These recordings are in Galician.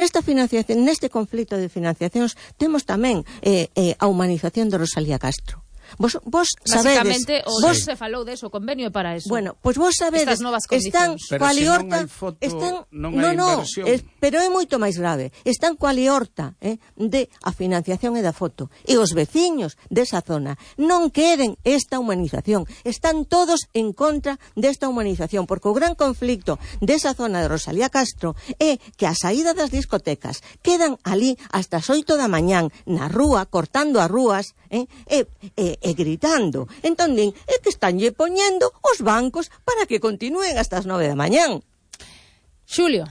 nesta financiación, neste conflito de financiacións, temos tamén a humanización de Rosalía Castro. Vos sabedes... Basicamente, vos se falou deso, o convenio é para eso. Bueno, pois vos sabedes... Estas novas condicións. Pero se non hai foto, non hai inversión. Pero é moito máis grave. Están coa liorta de a financiación e da foto. E os veciños desa zona non queren esta humanización. Están todos en contra desta humanización, porque o gran conflicto desa zona de Rosalía Castro é que a saída das discotecas quedan ali hasta as 8 da mañán na rúa, cortando as rúas, e gritando. Entón din, é que estanlle poñendo os bancos para que continúen hasta as 9 da mañán. Xulio.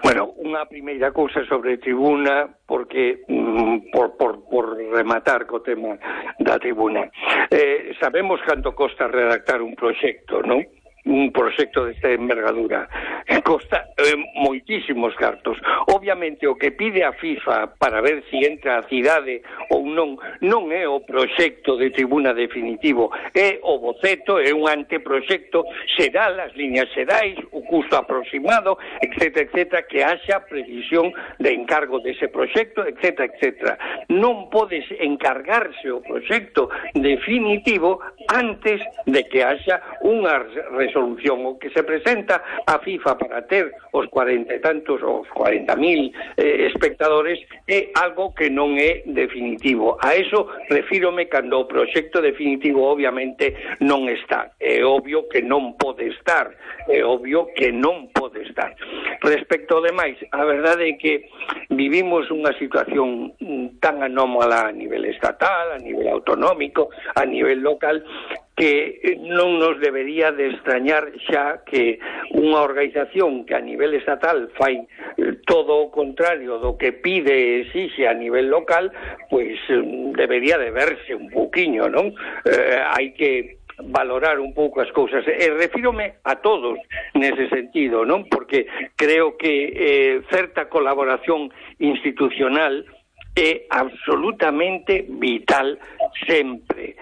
Bueno, unha primeira cousa sobre tribuna, porque por rematar co tema da tribuna. Sabemos canto costa redactar un proxecto, non? Un proxecto desta envergadura costa moitísimos cartos. Obviamente o que pide a FIFA para ver si entra a cidade ou non é o proxecto de tribuna definitivo, é o boceto, é un anteproxecto, será as liñas xerais, o custo aproximado, etc, que haxa previsión de encargo dese proxecto, etc. Non podes encargarse o proxecto definitivo antes de que haxa unha resolución. O que se presenta a FIFA para ter os 40 e tantos, os 40.000 espectadores é algo que non é definitivo. A eso refírome cando o proxecto definitivo obviamente non está. É obvio que non pode estar. Respecto ao demais, a verdade é que vivimos unha situación tan anómala a nivel estatal, a nivel autonómico, a nivel local, que non nos debería de extrañar xa que unha organización que a nivel estatal fai todo o contrario do que pide e exixe a nivel local, pois debería de verse un pouquiño, non? Hai que valorar un pouco as cousas, e refírome a todos nese sentido, non? Porque creo que certa colaboración institucional é absolutamente vital sempre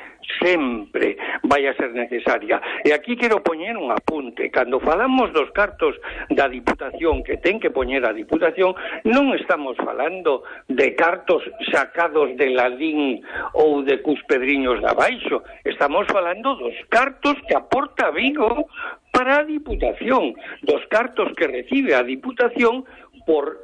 vai a ser necesaria. E aquí quero poñer un apunte. Cando falamos dos cartos da Diputación que ten que poñer a Diputación, non estamos falando de cartos sacados de Ladín ou de Cuspedriños de Abaixo. Estamos falando dos cartos que aporta Vigo para a Diputación, dos cartos que recibe a Diputación por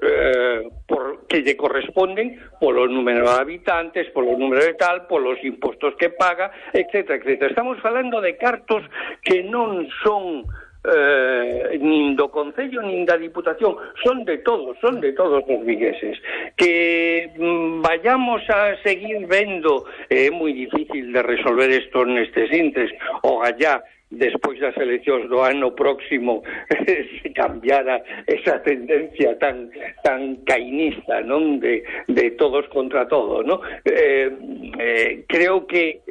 que lle corresponden polo número de habitantes, polo número de tal, polos impostos que paga, etc. Estamos falando de cartos que non son nin do Concello nin da Diputación, son de todos os vigueses. Que vayamos a seguir vendo, é moi difícil de resolver isto nestes intres, o gallá despois das eleccións do ano próximo se cambiara esa tendencia tan cainista, non, de todos contra todo, non? Creo que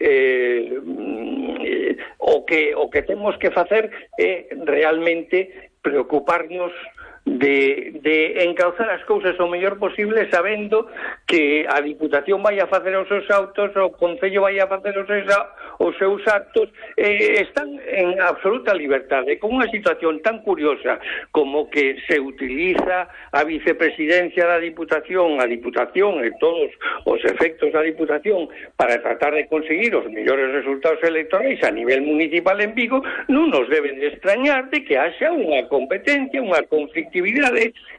o que temos que facer é realmente preocuparnos de encauzar as cousas o mellor posible, sabendo que a Diputación vai a facer os seus autos, o Concello vai a facer os seus actos, están en absoluta liberdade, con unha situación tan curiosa como que se utiliza a vicepresidencia da Diputación, a Diputación e todos os efectos da Diputación para tratar de conseguir os mellores resultados electorais a nivel municipal en Vigo. Non nos deben de extrañar de que haxa unha competencia, unha conflictividade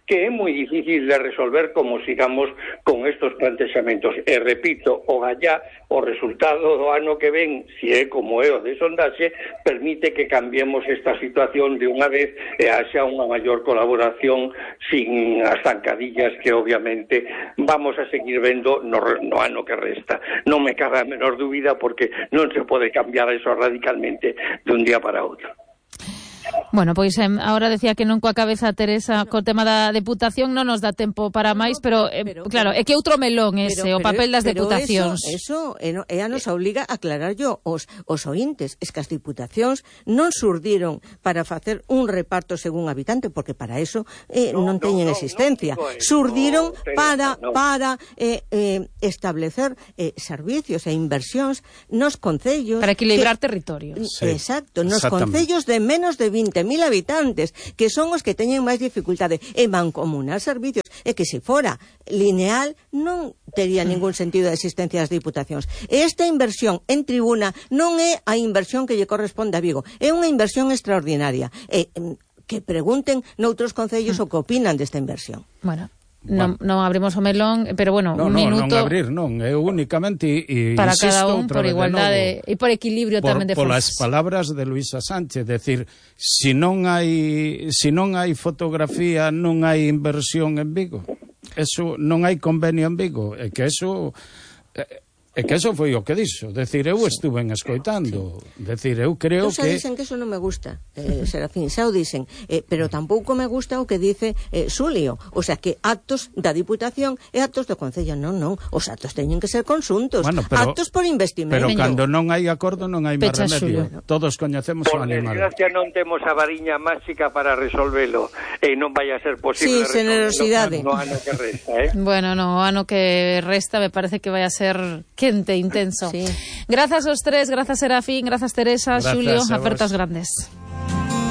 que é moi difícil de resolver como sigamos con estos plantexamentos. E repito, o gallá, o resultado do ano que ven, se é como é o de sondaxe, permite que cambiemos esta situación de unha vez e haxa unha maior colaboración sin as zancadillas que obviamente vamos a seguir vendo no ano que resta. Non me cabe a menor dúbida, porque non se pode cambiar eso radicalmente de un día para outro. Bueno, pois agora decía que non coa cabeza Teresa co tema da Deputación non nos dá tempo para máis, pero claro, é que outro melón ese, o papel das deputacións. Eso ela nos obliga a aclararllo os ointes. Es que as deputacións non surdiron para facer un reparto según habitante, porque para eso non teñen existencia. Surdiron para establecer servicios e inversións nos concellos. Para equilibrar territorios. Exacto, nos concellos de menos de 20.000 20.000 habitantes, que son os que teñen máis dificultade, e mancomunar servicios, e que se fora lineal non tería ningún sentido a existencia das diputacións. Esta inversión en tribuna non é a inversión que lle corresponde a Vigo, é unha inversión extraordinaria. Que pregunten noutros concellos o que opinan desta inversión. Bueno, non abrimos o melón, pero bueno, un minuto... Non abrir, non, é únicamente para cada un, por igualdade e por equilibrio tamén de forzas. Polas palabras de Luisa Sánchez, decir, se non hai fotografía, non hai inversión en Vigo. Eso, non hai convenio en Vigo, é que eso foi o que dixo. Decir, eu estuve escoitando. Decir, eu creo que... dicen que eso non me gusta, Serafín, xa o dicen, pero tampouco me gusta o que dice Xulio. O sea, que actos da Diputación e actos do Concello. Non, os actos teñen que ser conxuntos. Bueno, actos por investimento. Pero cando non hai acordo non hai máis remedio. Todos coñecemos o animal. Por desgracia non temos a variña máxica para resolvelo e non vai a ser posible generosidade no ano que resta, Bueno, no ano que resta me parece que vai a ser quente, intenso. Sí. Grazas aos tres, grazas Serafín, grazas Teresa, Xulio, apertos grandes.